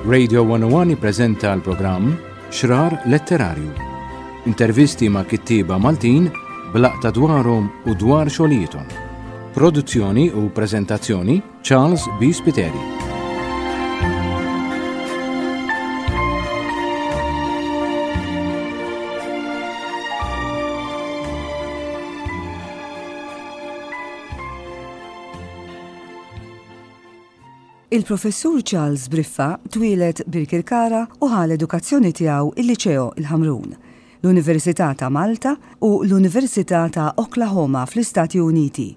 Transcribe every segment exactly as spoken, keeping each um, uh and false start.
Radio one oh one jippreżenta l-programm Xrar Letterarju. Intervisti ma' kittieba Maltin b'laqta dwarhom u dwar xogħlijiethom. Produzzjoni u preżentazzjoni, Charles B. Spiteri. Il-professur Charles Briffa twieled Birkirkara u ħa l-edukazzjoni tiegħu il-Liċeo il-Ħamrun, l-Università ta' Malta u l-Università ta' Oklahoma fl-Istati Uniti.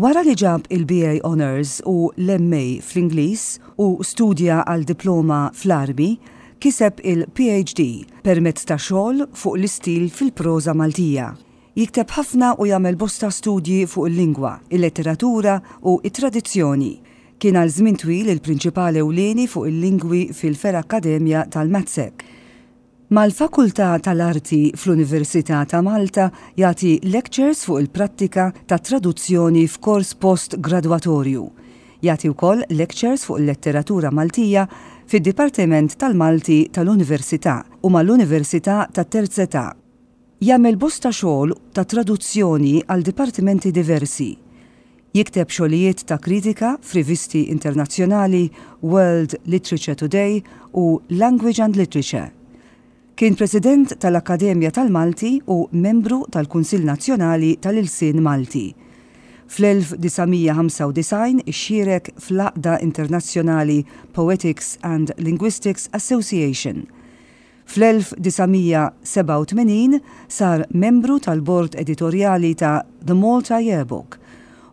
Wara li ġab il-B A Honours u l-M A fl-Ingliż u studja għal diploma fl-Armi, kiseb il-P H D permezz ta' xogħol fuq l-istil fil-proża Maltija. Jikteb ħafna u jagħmel bosta studji fuq il-lingwa, il-letteratura u it-tradizzjoni. Kien għal żmien twil il-prinċipal ewlieni fuq il-lingwi fil-Fergħa Akkademja tal-MATSEC. Mal-Fakultà tal-Arti fl-Università ta' Malta jagħti lectures fuq il-prattika ta' traduzzjoni f'kors post-gradwatorju. Jagħti wkoll lectures fuq il-letteratura Maltija fid-Dipartiment tal-Malti tal-Università u mal-Università tat-Terzetà. Jagħmel bosta xogħol ta' traduzzjoni għal dipartimenti diversi. Jikteb xogħlijiet ta' kritika f'rivisti internazzjonali World Literature Today u Language and Literature. Kien president tal-Akkademja tal-Malti u membru tal-Kunsill Nazzjonali tal-Ilsien Malti. Fl-elf disa' mija ħamsa u disgħin ixxierek fl-Għaqda Internazzjonali Poetics and Linguistics Association. Fl-elf disa' mija sebgħa u tmenin sar membru tal-bord editorjali ta' The Malta Yearbook.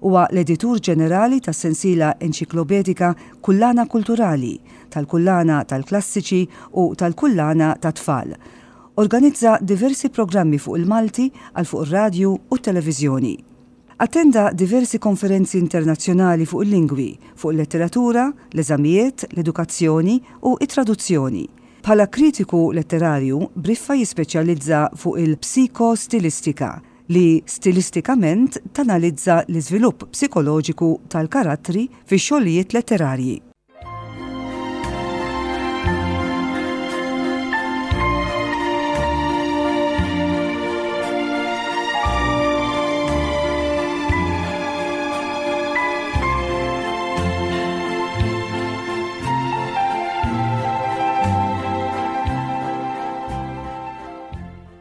Huwa l-editur ġenerali tas sensiela enċiklopedika Kullana Kulturali, tal-Kullana tal-Klassiċi u tal-Kullana tat-Tfal. Organizza diversi programmi fuq il-Malti għal fuq ir-radju u t-televiżjoni. Attenda diversi konferenzi internazzjonali fuq il-lingwi, fuq il-letteratura, l-eżamijiet, l-edukazzjoni u it-traduzzjoni. Bħala kritiku letterarju, Briffa jispeċjalizza fuq il-psikostilistika, li stilistikament tanalizza l-iżvilupp psikoloġiku tal-karattri fi xogħlijiet letterarji.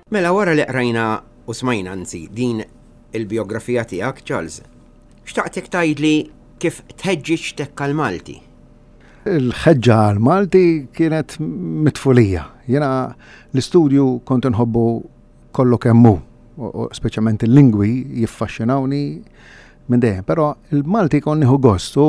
Mela, wara li qrajna u smajna, anzi, din il-biografija tiegħek, Charles, xtaqtek tgħidli kif tħeġġiġtek għal-Malti. Il-ħeġġa għal-Malti kienet mit-tfulija. Jena l-istudju kont nħobbu kollu kemmu, speċjalment il-lingwi jiffaxxinawni minn dejjem, però il-Malti kont nieħu gost u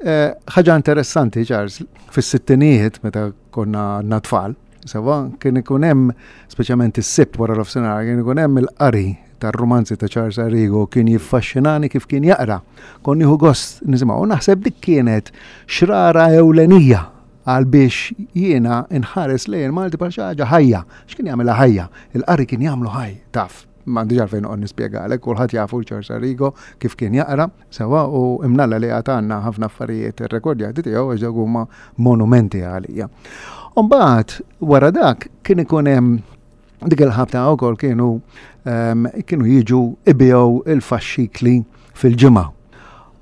eh, ħaġa interessanti, Charles, fis-sittinijiet, meta konna tfal, sewa, kien ikun hemm, speċjalment is-Sibt wara l-ofsinhar, kien ikun hemm il-qari tar-romanzi ta' Charles Arrigo. Kien jiffaxxinani kif kien jaqra. Kont nieħu gost nisimgħu. U naħseb dik kienet xrara ewlenija għal biex jiena nħares lejn Malti bħal xi ħaġa ħajja. X'kien jagħmilha ħajja? Il-qari kien jagħmlu ħaj, taf. M'għandix għalfejn noqgħod nispjegalek, kulħadd jafu Charles Arrigo kif kien jaqra, sewa, u imnalla li għatanna ħafna affarijiet irrekordjati tiegħu, għax dawk huma monumenti għalija. Umbagħad wara dak kien ikun hemm dik il-ħabta wkoll kienu um, kienu jiġu ibigħu il-faxxikli fil-ġimgħa.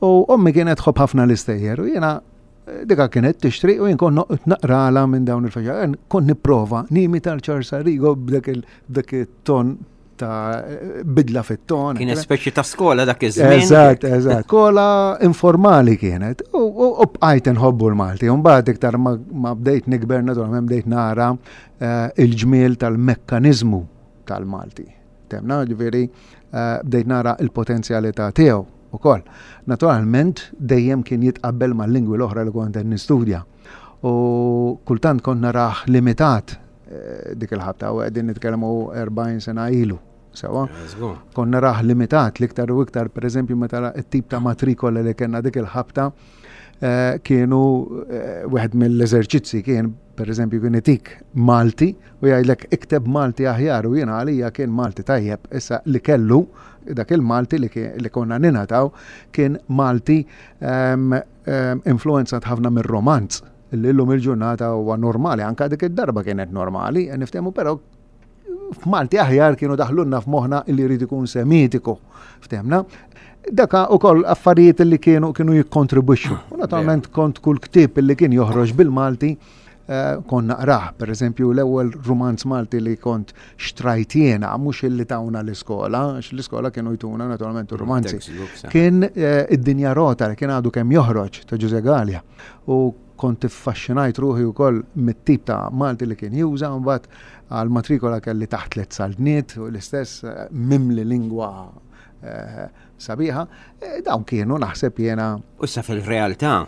U ommi kienet tħobb ħafna l-istejjer u jiena eh, dika kienet tixtri u jien kont naqrala minn dawn il-faxxikli. Kont nipprova nimita l-Charles Arrigo b'dak it-ton ta' bidla fit-ton. Kienet speċi ta' skola dak iż-żmien. Eżatt, eżatt. Skola informali kienet. U bqajt nħobbu l-Malti. U mbagħad iktar ma bdejt nikber, naturalment bdejt nara eh, il-ġmiel tal-mekkaniżmu tal-Malti. Temna, ġifieri eh, bdejt nara il-potenzjalità tiegħu ukoll. Naturalment dejjem kien jitqabbel mal-lingwi l-oħra li kont nistudja. U kultant kont narah limitat eh, dik il-ħabta, u qegħdin nitkellmu erbgħin sena ilu. Sewa. Kont narah limitat l-iktar u iktar, per eżempju, meta t-tip ta' matrikola li kellna dik il-ħabta eh, kienu eh, wieħed mill-eżerċizzi kien, per eżempju, kien itik Malti u jgħidlek ikteb Malti aħjar, u jiena għalija kien Malti tajjeb. Issa li kellu dak il-Malti li, li konna ningħataw kien Malti um, um, influenzat ħafna mir-romanz. Li llum il-ġurnata huwa normali, anka dik id-darba kienet normali, niftehmu, però f'Malti aħjar kienu daħlunna f'moħħna li jrid ikun semitiku. Ftehmna? Daka u koll affarijiet li kienu kienu jikkontribwixxu. U naturalment kont kull ktieb li kien joħroġ bil-Malti eh, kont naqrah. Per eżempju, l-ewwel rumanz Malti li kont xtrajt jiena, mhux illi tawna l-iskola, għax l-iskola kienu jtuna naturalment romanzi. Kien eh, Id-Dinja Rota li kien għadu kemm joħroġ ta' Ġużè Galea. U kont iffaxxinajt ruħi wkoll mit-tip ta' Malti li kien juża, mbagħad għal-matrikola kelli Taħt Tliet Saltniet u l-istess eh, mimli lingwa eh, sabiħa. Eh, dawn kienu naħseb jiena. U sa fil-realtà,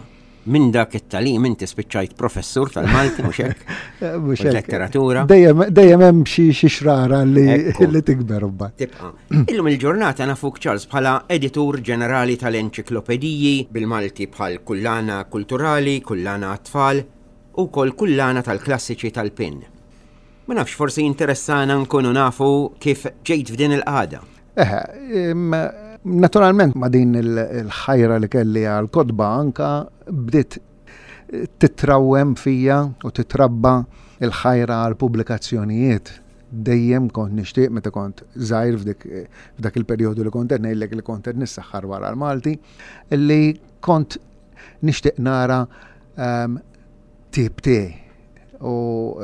minn dak it-tagħlim inti spiċċajt professur tal-Malti, mhux hekk? Mhux hekk. Letteratura. Dejjem dejjem hemm xi xi xrara li Ekku. li tikber mbagħad. Tibqa. Illum il-ġurnata nafuk, Charles, bħala editur ġenerali tal-enċiklopediji bil-Malti bħal Kullana Kulturali, Kullana Tfal u kol Kullana tal-Klassiċi tal-Pin. Ma nafx, forsi interessana nkunu nafu kif ġejt f'din il-qagħda. Eħe, im, naturalment ma din il- il-ħajra li kelli għal-kotba anka bdiet titrawem fija u titrabba il-ħajra għal-pubblikazzjonijiet. Dejjem kont nixtieq meta kont żgħir f'dik f'dak il-perjodu li kont qed ngħidlek li kont qed nissaħħar wara l-Malti, li kont nixtieq nara um, tip tiegħi. U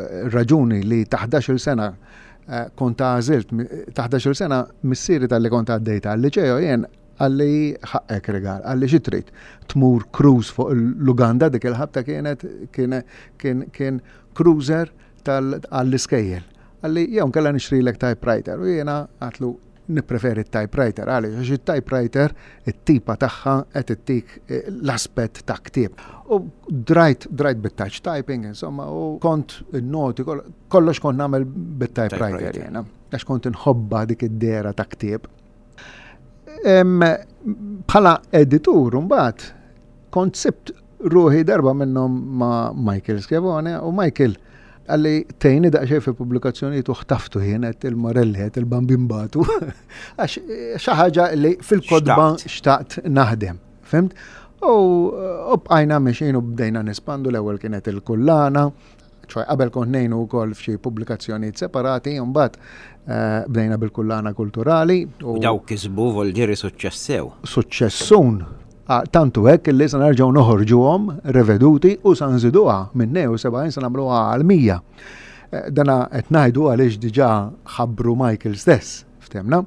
eh, raġuni li ta' ħdax-il sena eh, kont għażilt, ta' ħdax-il sena missieri talli kont għaddejta għal-liċeo jien qalli ħaqqek rigal, qalli xi trid, tmur cruise fuq l-Uganda, dik il-ħabta kienet kien kien kien cruiser tal-iskejjel. Qalli jew nkella nixtrilek typewriter u jiena għedtlu nippreferi typewriter. Għaliex? Għax it-typewriter it-tipa tagħha qed ittik eh, l-aspett ta' ktieb. U drajt drajt bit-touch typing, insomma, u kont il-noti kollox kont nagħmel bit-typewriter Typewriter. jiena, għax kont inħobba dik id-dehra ta' ktieb. Em, Bħala editur mbagħad kont sibt ruħi darba minnhom ma' Michael Schiavone u Michael qalli tgħinni daqsxejn fi pubblikazzjonijiet u ħtaftu jien għedt il-Morelli, għedt il-Bambin batu, għax eh, xi ħaġa li fil-kotba Xtaqt. xtaqt naħdem, fhimt? U u bqajna mexjin u bdejna nespandu. L-ewwel kienet il-kullana, ċoj qabel kont ngħinu wkoll f'xi pubblikazzjonijiet separati, u mbagħad eh, bdejna bil-Kullana Kulturali. U daw kisbu voldiri suċċess sew. Suċċessun. Ah, tantu hekk li sa nerġgħu noħorġuhom reveduti u sa nżiduha minn tnejn u sebgħin sa nagħmluha għal mija. Eh, Dana qed ngħidu għaliex diġà ħabbru Michael stess, ftehmna.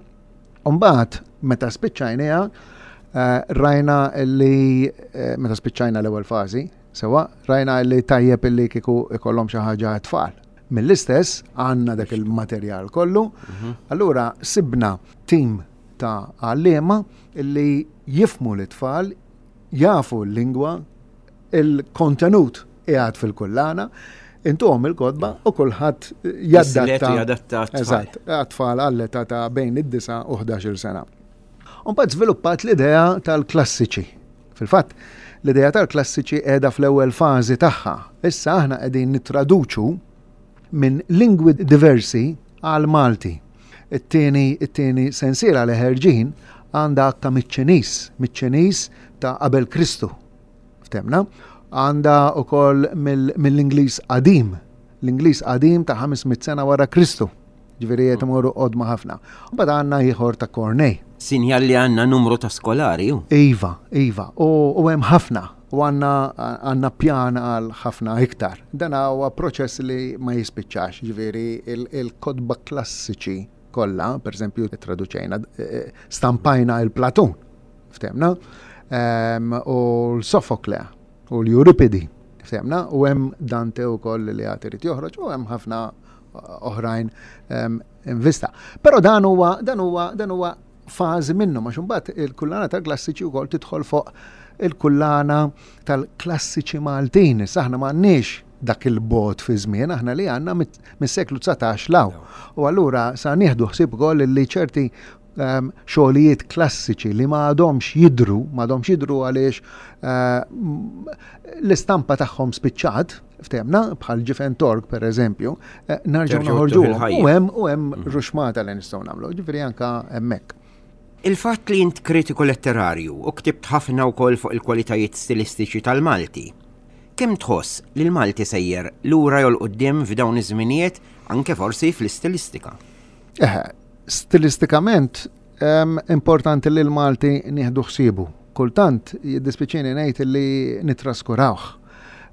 Umbagħad meta spiċċajniha eh, rajna li eh, meta spiċċajna l-ewwel fażi, sewa, rajna li tajjeb illi kieku ikollhom xi ħaġa tfal. Mill-istess għandna dak il-materjal kollu, allura sibna tim ta' għalliema illi jifhmu l-tfal, jafu l-lingwa, il-kontenut qiegħed fil-kullana, intuhom il-kotba u kulħadd jadatta. Jislet u jadatta għat-tfal. Eżatt, għat-tfal għall-età ta' bejn id-disa u ħdax-il sena. Mbagħad żviluppat l-idea tal-klassiċi. Fil-fatt, l-idea tal-klassiċi qiegħda fl-ewwel fażi tagħha. Issa aħna qegħdin nittraduċu minn lingwi diversi għal Malti. It-tieni it-tieni sensiela li ħerġin għandha akka miċ-Ċiniż, miċ-Ċiniż ta' qabel Kristu. Ftehmna? Għandha ukoll mill-Ingliż qadim, l-Ingliż qadim ta' ħames mitt sena wara Kristu. Ġifieri qed imorru qodma ħafna. Mbagħad għandna ieħor ta' Corneille. Sinjal li għandna numru ta' skolari. ju. Iva, iva, u u hemm ħafna u għandna għandna pjan għal ħafna iktar. Dan huwa proċess li ma jispiċċax, ġifieri il-kotba klassiċi kollha, per eżempju, traduċejna, eh, stampajna il-Platun, ftehmna, Em, u l-Sofokle, u l-Euripidi, ftehmna, u hemm Dante wkoll li għad irid joħroġ, u hemm ħafna oħrajn em, in vista. Però dan huwa dan huwa dan huwa fażi minnu, ma mbagħad il-kullana tal-klassiċi wkoll tidħol fuq il-kullana tal-klassiċi Maltin. Issa aħna m'għandniex dak il-bot fi żmien, aħna li għandna mis-seklu dsatax 'l hawn. U allura sa nieħdu ħsieb ukoll li ċerti um, xogħlijiet klassiċi li ma għadhomx jidru, ma għadhomx jidru għaliex uh, l-istampa tagħhom spiċċat, ftehmna, bħal Ġifen Tork per eżempju, eh, nerġgħu Terġgħu noħorġuhom. il-ħajja. U hemm u hemm ruxmata li nistgħu nagħmlu, ġifieri anka hemmhekk. Il-fatt li int kritiku letterarju u ktibt ħafna wkoll fuq il-kwalitajiet stilistiċi tal-Malti. Kemm tħoss li l-Malti sejjer lura jew 'l quddiem f'dawn iż-żminijiet, anke forsi fl-istilistika? Eh, stilistikament importanti li l-Malti nieħdu ħsiebu. Kultant jiddispiċini ngħid li nitraskurawh.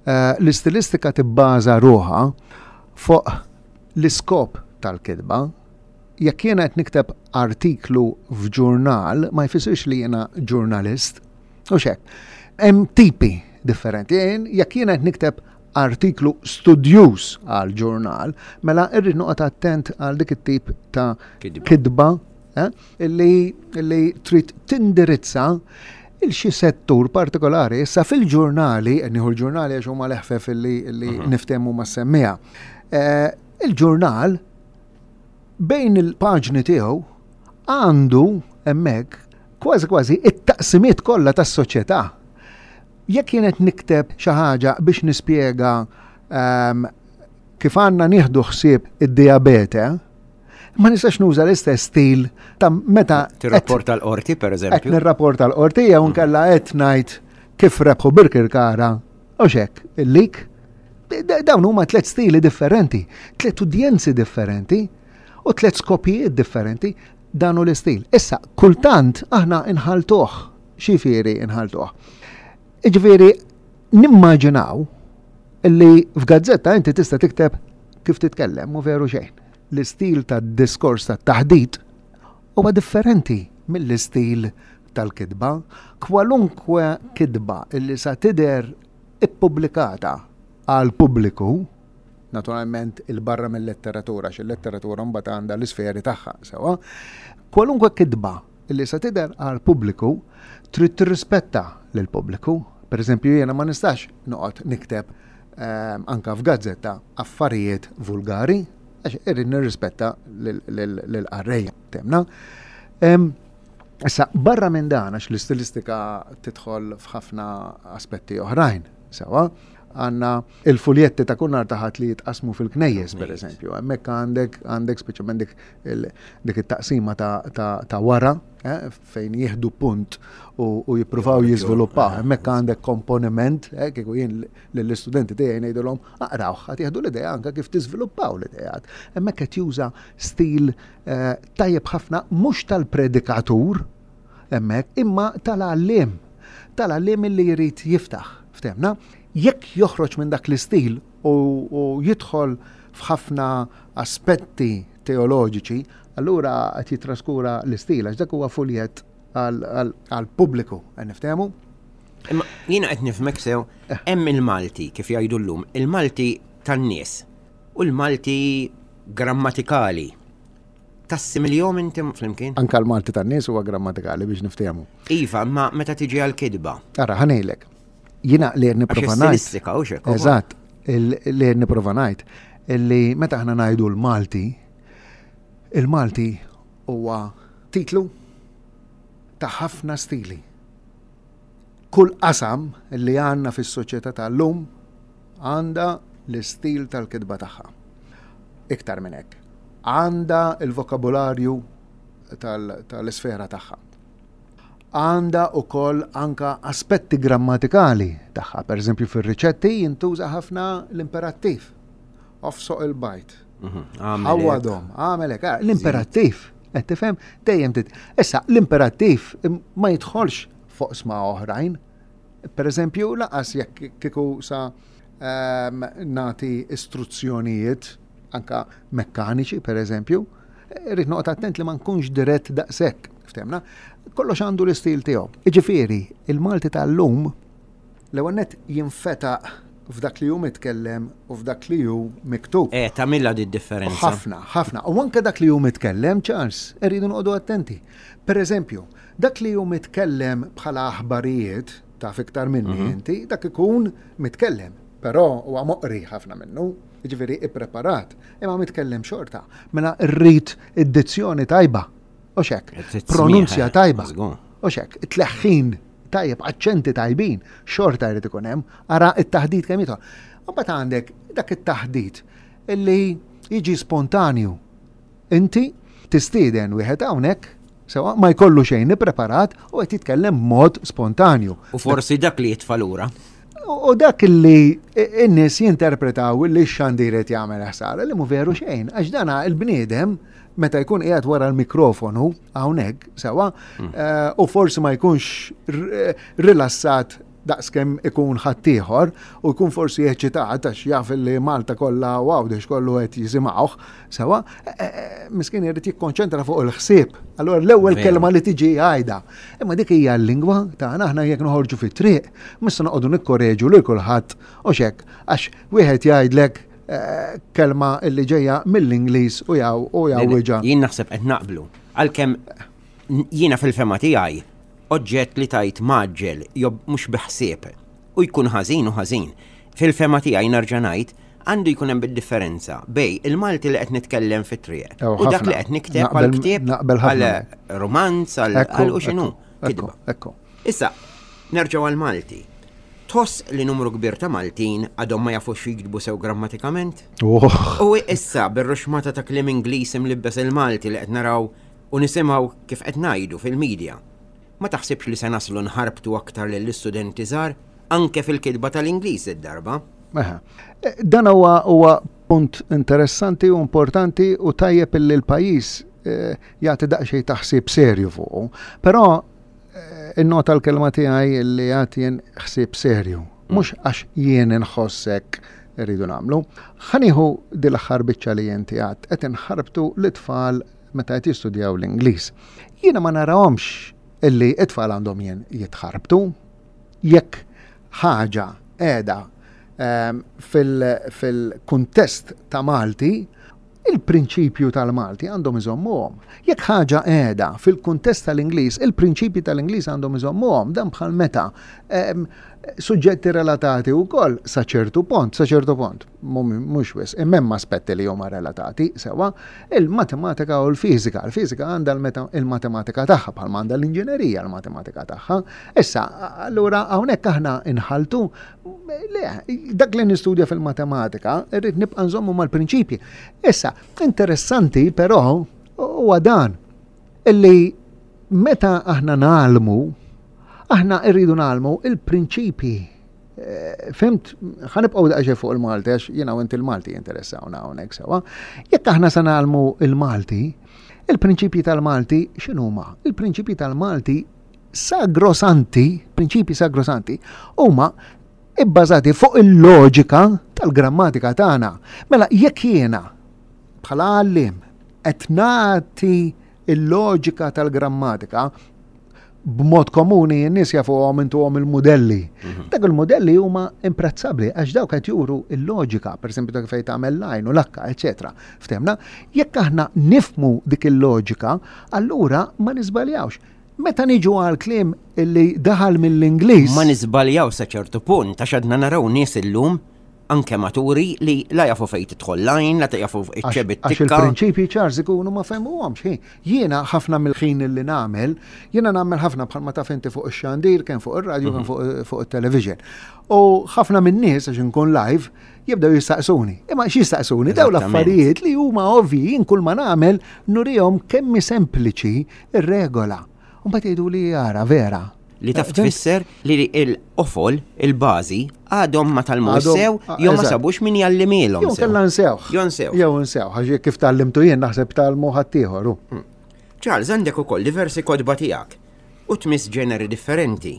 Eh, l-istilistika tibbaża ruħha fuq l-iskop tal-kitba. Jekk jiena qed nikteb artiklu f'ġurnal, ma jfissirx li jiena ġurnalist. U xek. Hemm tipi differenti. Jekk jiena qed nikteb artiklu studjuż għal ġurnal, mela irrid noqgħod attent għal dik it-tip ta' kitba eh, illi, illi trid tindirizza il xi settur partikolari. Issa fil-ġurnali, nieħu l-ġurnali għax huma l-eħfef illi, illi uh mhm. -huh. niftehmu ma' semmija. Eh, il-ġurnal bejn il-paġni tiegħu għandu hemmhekk kważi kważi it-taqsimiet kollha tas-soċjetà. Jekk jien qed nikteb xi ħaġa biex nispjega um, kif għandna nieħdu ħsieb id-diabete, ma nistax nuża l-istess stil ta' meta tirrapporta l-qorti, per eżempju. Qed nirrapporta l-qorti jew nkella qed ngħid kif rebħu Birkirkara u xek, il-lik. Dawn huma tliet stili differenti, tliet udjenzi differenti u tliet skopijiet differenti, dan hu l-istil. Issa, kultant aħna inħaltuh, xifieri inħaltuh. Iġifieri, nimmaġinaw li f'gazzetta inti tista' tikteb kif titkellem, u veru xejn. L-istil tad-diskors tat-taħdit huwa differenti mill-istil tal-kitba. Kwalunkwe kitba illi sa tidher ippubblikata għal pubbliku, naturalment il-barra mill-letteratura, għax il-letteratura mbagħad għandha l-isferi tagħha, sewwa. Kwalunkwe kitba illi sa tidher għal pubbliku trid tirrispetta lil pubbliku. Per eżempju, jiena ma nistax noqgħod nikteb ehm, anka f'gazzetta affarijiet vulgari, għax irrid nirrispetta lill-qarrejja temna. Ehm, issa, barra minn dan, għax l-istilistika tidħol f'ħafna aspetti oħrajn, sewwa, għandna il-fuljetti ta' kull nhar ta' Ħadd li jitqasmu fil-knejjes, per eżempju. Hemmhekk għandek, għandek speċjalment dik il-, dik it-taqsima ta', ta', ta' wara, eh, fejn jieħdu punt u, u jippruvaw jiżviluppaw. Hemmhekk għandek komponiment, eh, kieku jien lill-istudenti tiegħi ngħidulhom aqrawh, ħadd jieħdu l-idea anke kif tiżviluppaw l-ideat. Hemmhekk qed juża stil, eh, tajjeb ħafna, mhux tal-predikatur hemmhekk, imma tal-għalliem, tal-għalliem li jrid jiftaħ, ftemna. Jekk joħroġ minn dak l-istil u, u jidħol f'ħafna aspetti teoloġiċi, allura qed jitraskura l-istil, għax dak huwa fuljett għal-pubbliku, qed niftehmu? Imma jiena qed nifhmek sew, hemm il-Malti, kif jgħidu llum, il-Malti tan-nies u l-Malti grammatikali. Tassimiljhom inti flimkien? Anka l-Malti tan-nies huwa grammatikali biex niftehmu. Iva, ma meta tiġi għal-kitba. Ara, ħa ngħidlek. Jiena li qed nipprova Għax ngħid. stilistika, u xek, ukoll. Eżatt, li qed nipprova ngħid illi meta aħna ngħidu l-Malti, il-Malti huwa titlu ta' ħafna stili. Kull qasam li għandna fis-soċjetà tal-lum għandha l-istil tal-kitba tagħha. Iktar minn hekk, għandha il-vokabularju tal-, tal-isfera tagħha. Għandha wkoll anka aspetti grammatikali tagħha. Per eżempju, fir-riċetti jintuża ħafna l-imperattiv. Ofsoq il-bajd. Mhm. Għamel hekk. Ħawwadhom, għamel hekk. Ah, l-imperattiv, qed tifhem? Dejjem tit. Issa, l-imperattiv ma jidħolx fuq sma oħrajn. Per eżempju, laqas jekk kieku sa, ehm, nati istruzzjonijiet anka mekkaniċi, per eżempju, irrid noqgħod attent li ma nkunx dirett daqshekk, ftemna? Kollox għandu l-istil tiegħu. Jiġifieri, il-Malti tal-lum l-ewwel nett jinfetaq f'dak li hu mitkellem u f'dak li hu miktub. Eh, tagħmilha di differenza. Ħafna, ħafna. U anke dak li hu mitkellem, Charles, irridu noqogħdu attenti. Per eżempju, dak li hu mitkellem bħala aħbarijiet, taf iktar minni Mhm. inti, dak ikun mitkellem, però huwa moqri ħafna minnu, jiġifieri ippreparat, imma mitkellem xorta. Mela rrid id-dizzjoni tajba, u xek, Qed tismieħ, pronunzja eh, tajba, żgur. u xek, tleħħin tajjeb, aċċenti tajbin, xorta jrid ikun hemm, ara it-taħdit kemm jidħol. U mbagħad għandek dak it-taħdit illi jiġi spontanju. Inti tistieden wieħed hawnhekk, sewa ma jkollu xejn ippreparat u qed jitkellem b'mod spontanju. U forsi dak li jitfa' lura. U dak li n-nies jinterpretaw li x-xandir qed jagħmel ħsara li mhu veru xejn, għax dana il-bniedem meta jkun qiegħed wara l-mikrofonu hawnhekk sewwa mm. eh, u forsi ma jkunx rilassat daqskemm ikun ħaddieħor u jkun forsi eċitat għax jaf li Malta kollha u Għawdex kollu qed jisimgħuh sewwa, eh, eh, miskin irid jikkonċentra fuq il-ħsieb. Allura l-ewwel kelma li tiġi għajda. Imma dik hija l-lingwa tagħna aħna jekk noħorġu fit-triq, mhux se noqogħdu nikkoreġu lil kulħadd u xek għax wieħed jgħidlek eh, kelma li ġejja mill-Ingliż u jaw u jawwiġa. Jien naħseb qed naqblu. Għalkemm jiena fil-fema tiegħi oġġett li tajt maġġel jew mhux biħsieb u jkun ħażin u ħażin. Fil-fema tiegħi nerġa' ngħid għandu jkun hemm bid-differenza bej il-Malti li qed nitkellem fit-triq u dak li qed nikteb għal ktieb għal romanz għal u x'inhu. Ekku. Issa, nerġgħu għal Malti. Tħoss li numru kbir ta' Maltin għadhom ma jafux jiktbu sew grammatikament? U issa bir-ruxmata ta' kliem Ingliż imlibbes il-Malti li qed naraw u nisimgħu kif qed ngħidu fil-medja. Ma taħsibx li se naslu nħarbtu aktar lill-istudenti żgħar anke fil-kitba tal-Ingliż id-darba? Eħe. Dan huwa huwa punt interessanti u importanti u tajjeb illi l-pajjiż eh, jagħti daqsxejn taħsib serju fuqu. Però eh, innota l-kelma tiegħi li jagħti jien ħsieb serju. Mhux għax jien inħossek irridu nagħmlu. Ħa nieħu dil-aħħar biċċa li inti għedt qed inħarbtu l-itfal meta qed jistudjaw l-Ingliż. Jiena ma narahomx illi it-tfal għandhom jien jitħarbtu. Jekk ħaġa qiegħda ehm, fil-kuntest ta' Malti, il-prinċipju tal-Malti għandhom iżommuhom. Jekk ħaġa qiegħda fil-kuntest tal-Ingliż, il-prinċipji tal-Ingliż għandhom iżommuhom. Dan bħal meta ehm, suġġetti relatati wkoll sa ċertu punt, sa ċertu punt, mhux wisq, imma hemm aspetti li huma relatati sewwa, il-matematika u l-fiżika. Il-fiżika għandha il-matematika tagħha bħalma għandha l-inġinerija l-matematika tagħha. Issa, allura hawnhekk aħna inħaltu le, dak li nistudja fil-matematika irrid nibqa' nżommu mal-prinċipji. Issa, interessanti però huwa dan illi meta aħna nagħlmu aħna rridu nagħlmu il-prinċipji. Eh, Fhimt, ħa nibqgħu daqsxejn fuq il-Malti, għax jiena u inti il-Malti jinteressawna hawnhekk sewwa. Jekk aħna se nagħlmu il-Malti, il-prinċipji tal-Malti x'inhuma? Il-prinċipji tal-Malti sagrosanti, prinċipji sagrosanti, huma ibbażati fuq il-loġika tal-grammatika tagħna. Mela jekk jiena bħala għallim qed nagħti il-loġika tal-grammatika b'mod komuni n-nies jafuhom intuhom il-modelli. Mhm. Dak il-modelli huma imprezzabbli għax dawk qed juru il-loġika, pereżempju dak fejn tagħmel lajn u lakka, eċetera. Ftehmna, jekk aħna nifmu dik il-loġika, allura ma niżbaljawx. Meta niġu għal kliem illi daħal mill-Ingliż. Ma niżbaljaw sa ċertu punt għax għadna naraw nies illum anke maturi li la jafu fejn tidħol lajn, la jafu iċ-ċebit Għax il-prinċipji Charles ikunu ma fehmuhomx. Jiena ħafna mill-ħin li nagħmel, jiena nagħmel ħafna bħalma taf inti fuq ix-xandir, kemm fuq ir-radju, kemm mhm. fuq it-television. U ħafna min-nies għax inkun live jibdew jistaqsuni. Imma x'jistaqsuni? Daw l-affarijiet li huma ovvi jien kull ma nagħmel nurihom kemm sempliċi ir-regola. U mbagħad jgħidu li jara vera. Li taf tfisser li l-qofol, il-bażi, għadhom ma tgħallmu sew, jew ma sabux min jgħallimilhom. Jew kellha nsewh. Jew nsew. Jew nsew, għax kif tgħallimtu jien naħseb tgħallmu ħaddieħor. Hmm. Charles, għandek ukoll diversi kotba tiegħek u tmiss ġeneri differenti.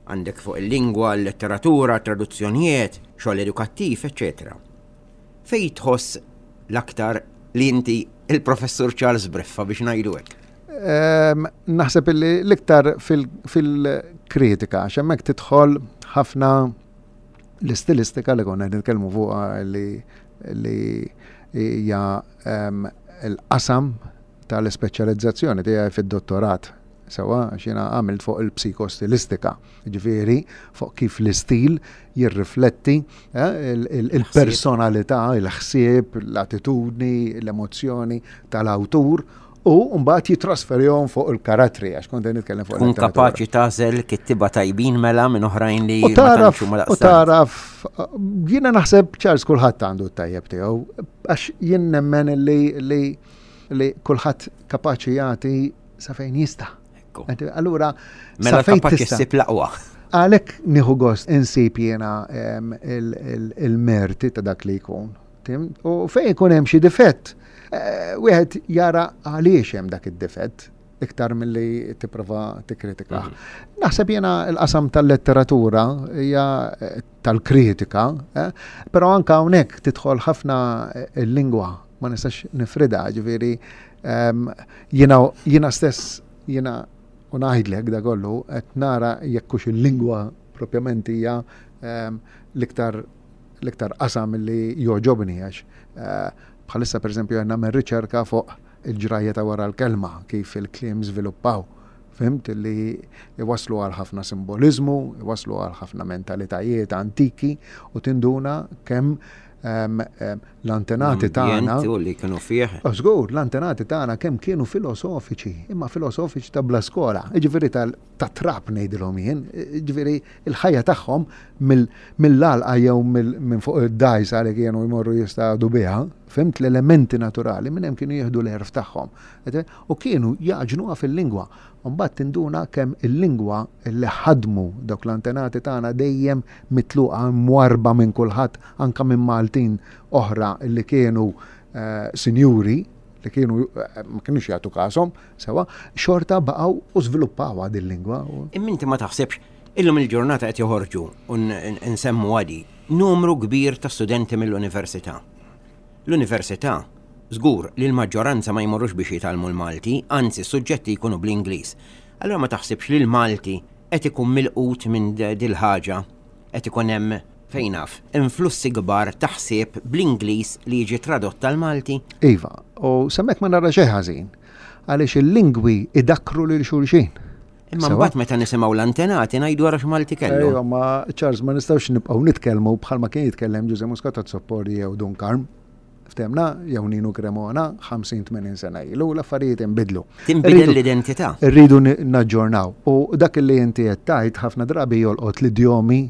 Għandek fuq il-lingwa, l-letteratura, traduzzjonijiet, xogħol edukattiv, eċċetera. Fejn tħoss l-aktar li inti il-professur Charles Briffa biex ngħidu hekk? Naħseb illi l-iktar fil-kritika, għax hemmhekk tidħol ħafna l-istilistika li konna nitkellmu fuqha li li hija l-qasam tal-ispeċjalizzazzjoni tiegħi fid-dottorat. Sewwa, għax jiena għamilt fuq il-psikostilistika, ġifieri fuq kif l-istil jirrifletti eh, il-personalità, il-ħsieb, l-attitudni, l-emozzjoni tal-awtur u mbagħad jitrasferihom fuq il-karattri għax kont nitkellem fuq. Kun kapaċi tagħżel kittiba tajbin mela minn oħrajn li U taraf, u taraf, jiena naħseb Charles kulħadd għandu t-tajjeb tiegħu, għax jien nemmen li li li kulħadd kapaċi jagħti sa fejn jista'. Allura mela kapaċi ssib l-aqwa. Għalhekk nieħu gost insib jiena il-merti ta' dak li jkun. U fejn ikun hemm xi difett, eh, wieħed jara għaliex hemm dak id-difett iktar milli tipprova tikkritika. Mhm. Naħseb jiena l-qasam tal-letteratura hija eh, tal-kritika, eh, però anka hawnhekk tidħol ħafna il-lingwa, ma nistax nifrida, ġifieri ehm, jiena jiena stess jiena u ngħidlek da kollu qed nara jekk hux il-lingwa propjament hija ehm, l-iktar l-iktar qasam li jogħġobni għax eh, bħalissa pereżempju qed nagħmel riċerka fuq il-ġrajja ta' wara l-kelma, kif il-kliem żviluppaw. Fhimt li iwaslu għal ħafna simboliżmu, iwaslu għal ħafna mentalitajiet antiki u tinduna kemm ehm, ehm, l-antenati tagħna u li kienu fih. Żgur, l-antenati tagħna kemm kienu filosofiċi, imma filosofiċi ta' bla skola, jiġifieri ta' trab ngħidilhom jien, jiġifieri il-ħajja tagħhom mill-għalqa jew minn fuq id-dgħajsa li kienu jmorru jistadu biha, fhimt l-elementi naturali minn hemm kienu jieħdu l-għerf tagħhom. U kienu jagħġnuha fil-lingwa. Mbagħad tinduna kemm il-lingwa li ħadmu dawk l-antenati tagħna dejjem mitluqa mwarba minn kulħadd anka minn Maltin oħra li kienu eh, sinjuri li kienu eh, ma kienux jagħtu każhom sewa, xorta baqgħu u żviluppawha din lingwa. Imma inti ma taħsibx illum il-ġurnata qed joħorġu u nsemmu għadi numru kbir ta' studenti mill-università. L-università żgur li l-maġġoranza ma jmorrux biex jitgħallmu l-Malti, anzi s-suġġetti jkunu bl-Ingliż. Allura ma taħsibx li l-Malti qed ikun milqut minn dil-ħaġa, qed ikun hemm fejn naf, influssi kbar ta' ħsieb bl-Ingliż li jiġi tradott tal-Malti? Iva, u s'hemmhekk ma nara xejn ħażin, għaliex il-lingwi idakkru lil xulxin. Imma mbagħad meta nisimgħu l-antenati ngħidu ara x'Malti kellu. Ejwa, ma Charles ma nistgħux nibqgħu nitkellmu bħalma kien jitkellem Ġużè Muscat Azzopardi jew Dun Karm. Ftemna, jew Ninu Cremona, ħamsin tmenin sena ilu, l-affarijiet inbidlu. Tinbidel l-identità. Irridu naġġornaw. U dak li inti qed tgħid ħafna drabi jolqot l-idjomi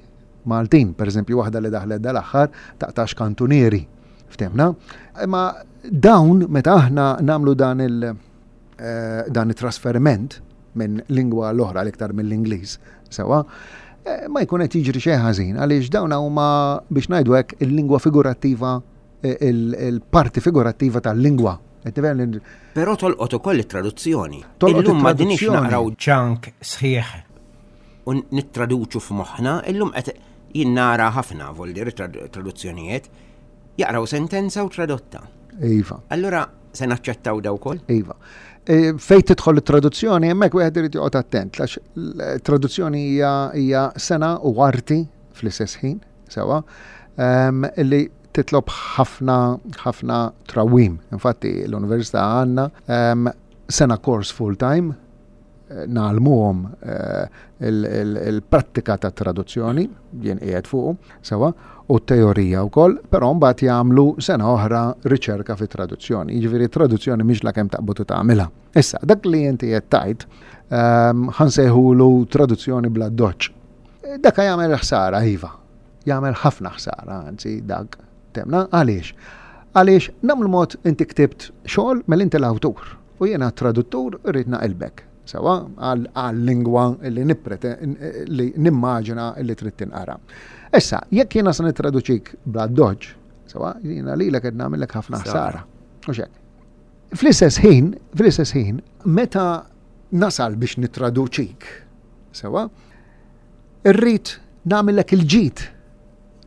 Maltin. Per eżempju, waħda li daħlet dal-aħħar taqtax kantunieri. Ftemna? Imma dawn meta aħna nagħmlu dan il- eh, dan it-trasferiment minn lingwa l-oħra l-iktar mill-Ingliż, sewa, eh, ma jkun qed jiġri xejn ħażin għaliex dawn huma biex ngħidu hekk il-lingwa figurattiva, eh, il-parti figurattiva tal-lingwa. Però tolqot ukoll it-traduzzjoni. Illum ma dinix naqraw ċank sħiħ u nittraduċu f'moħħna, illum qed jien nara ħafna voldir traduzzjonijiet jaqraw sentenza u tradotta. Iva. Allura se naċċettaw daw ukoll? Iva. E, fejn tidħol it-traduzzjoni, hemmhekk wieħed irid joqgħod attent, għax traduzzjoni hija hija sena u arti fl-istess ħin, sewa, li titlob ħafna ħafna trawim. Infatti l-università għandna sena kors full time ngħallmuhom eh, il-prattika ta' traduzzjoni, jien qiegħed fuqu, sewa, u t-teorija wkoll, però mbagħad jagħmlu sena oħra riċerka fi traduzzjoni. Jiġifieri traduzzjoni mhix la kemm taqbad u tagħmilha. Issa, dak li inti qed tgħid ehm, ħansejħulu traduzzjoni bla doċ. Dak jagħmel ħsara, iva. Jagħmel ħafna ħsara, anzi dak temna għaliex. Għaliex nagħmlu mod inti ktibt xogħol mela inti l-awtur u jiena traduttur irrid naqilbek. Sewa għal-lingwa li nipprete li nimmaġina li trid tinqara. Issa, jekk jiena se nittraduċik bla doġġ, sewa jiena lilek qed nagħmellek ħafna ħsara. Mhux hekk. Fl-istess ħin, fl-istess ħin, meta nasal biex nittraduċik, sewa, irrid nagħmellek il-ġid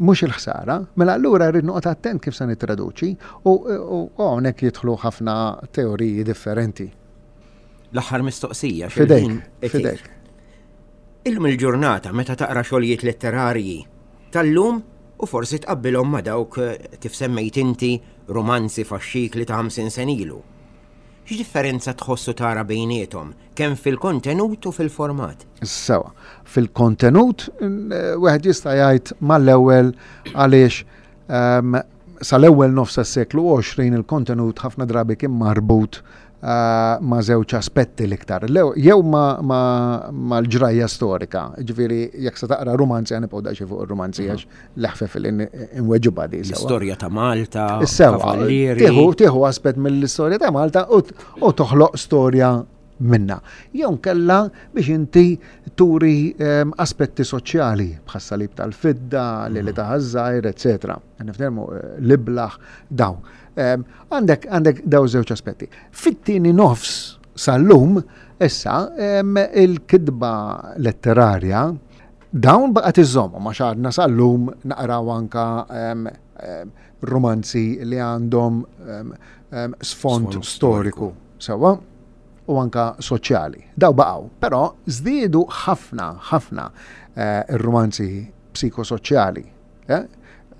mhux il-ħsara, mela allura rrid noqgħod attent kif se nittraduċi u hawnhekk jidħlu ħafna teoriji differenti. L-aħħar mistoqsija. Fidejk, fidejk. Illum il-ġurnata meta taqra xogħlijiet letterarji tal-lum u forsi tqabbilhom ma' dawk kif semmejt inti romanzi faxxikli ta' ħamsin sen ilu. X'differenza tħossu tara bejniethom, kemm fil-kontenut u fil-format? Sewa, fil-kontenut wieħed jista' jgħid mal-ewwel għaliex ehm, sal-ewwel nofs tas-seklu għoxrin il-kontenut ħafna drabi kien marbut eh, ma' żewġ aspetti l-iktar. Jew ma' l-ġrajja storika, ġifieri jekk se taqra rumanzi għan nibqgħu daqsxejn fuq ir-rumanzi għax l-eħfef li nweġibha di. L-istorja ta' Malta, kavallieri. Tieħu aspett mill-istorja ta' Malta u toħloq storja minna. Jew inkella biex inti turi um, aspetti soċjali bħas-salib tal-fidda, li li taħażżajr, eċetera. Niftermu eh, l-iblaħ daw. Għandek għandek daw żewġ aspetti. Fit-tieni nofs sal-lum, issa, il-kitba letterarja dawn baqgħet iżommu ma xadna sal-lum naqraw anka romanzi li għandhom sfond storiku. Sewwa? U anka soċjali. Daw baqgħu, però żdiedu ħafna ħafna eh, ir-romanzi psikosoċjali. Eh?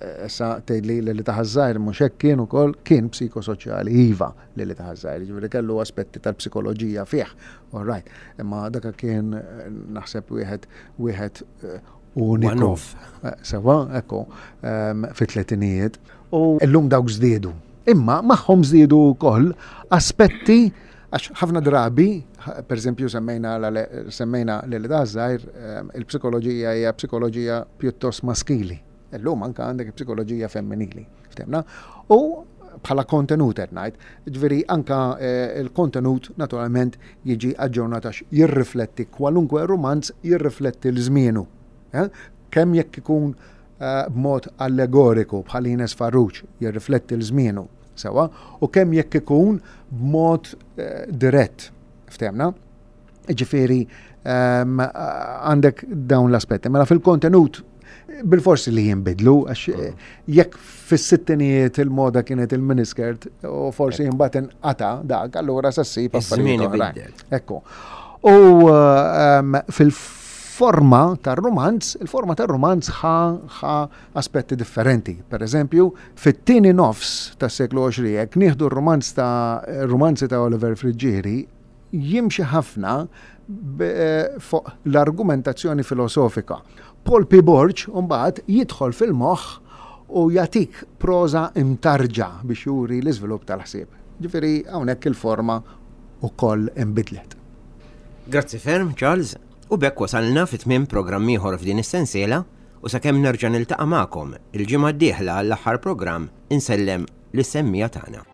Issa tgħidli li li taħażżajr mhux hekk kien ukoll kien psikosoċjali iva li li taħażżajr, jiġifieri kellu aspetti tal-psikoloġija fih. All right. Imma dak kien eh, naħseb wieħed wieħed eh, uniku. Eh, sewwa, ekku, ehm, fit-tletinijiet. U llum dawk żdiedu. Imma magħhom żdiedu wkoll aspetti għax ħafna drabi, per eżempju semmejna semmejna li li taħażżajr, ehm, il-psikoloġija hija psikoloġija pjuttost maskili. Illum anka għandek psikoloġija femminili. Ftemna? U bħala kontenut qed ngħid, ġifieri anka eh, il-kontenut naturalment jiġi aġġornat għax jirrifletti kwalunkwe romanz jirrifletti l-żmienu. Eh? Kemm jekk ikun eh, b'mod allegoriku bħal Ines Farrugia jirrifletti l-żmienu, sewwa, u kemm jekk ikun b'mod dirett. Ftemna? Ġifieri ehm, għandek dawn l-aspetti. Mela fil-kontenut bil-forsi li jinbidlu, għax eh, jekk fis-sittinijiet il-moda kienet il-miniskirt u forsi imbagħad inqata dak, allura sa ssib affarijiet oħrajn. Ekku. U ehm, fil-forma tar-rumanz, il-forma tar-rumanz ħa ħa aspetti differenti. Per eżempju, fit-tieni nofs tas-seklu għoxrin, jekk nieħdu r-rumanz ta' romanzi ta' Oliver Friggieri, jimxi ħafna eh, fuq l-argumentazzjoni filosofika. Paul P. Borg mbagħad jidħol fil-moħħ u jagħtik proża imtarġa biex juri l-iżvilupp tal-ħsieb. Ġifieri hawnhekk il-forma wkoll inbidlet. Grazzi ferm, Charles. U b'hekk wasalna fi tmiem programm ieħor f'din is-sensiela u sakemm nerġa' niltaqa' magħkom il-ġimgħa d-dieħla għall-aħħar programm insellem lis-semmiegħa tagħna.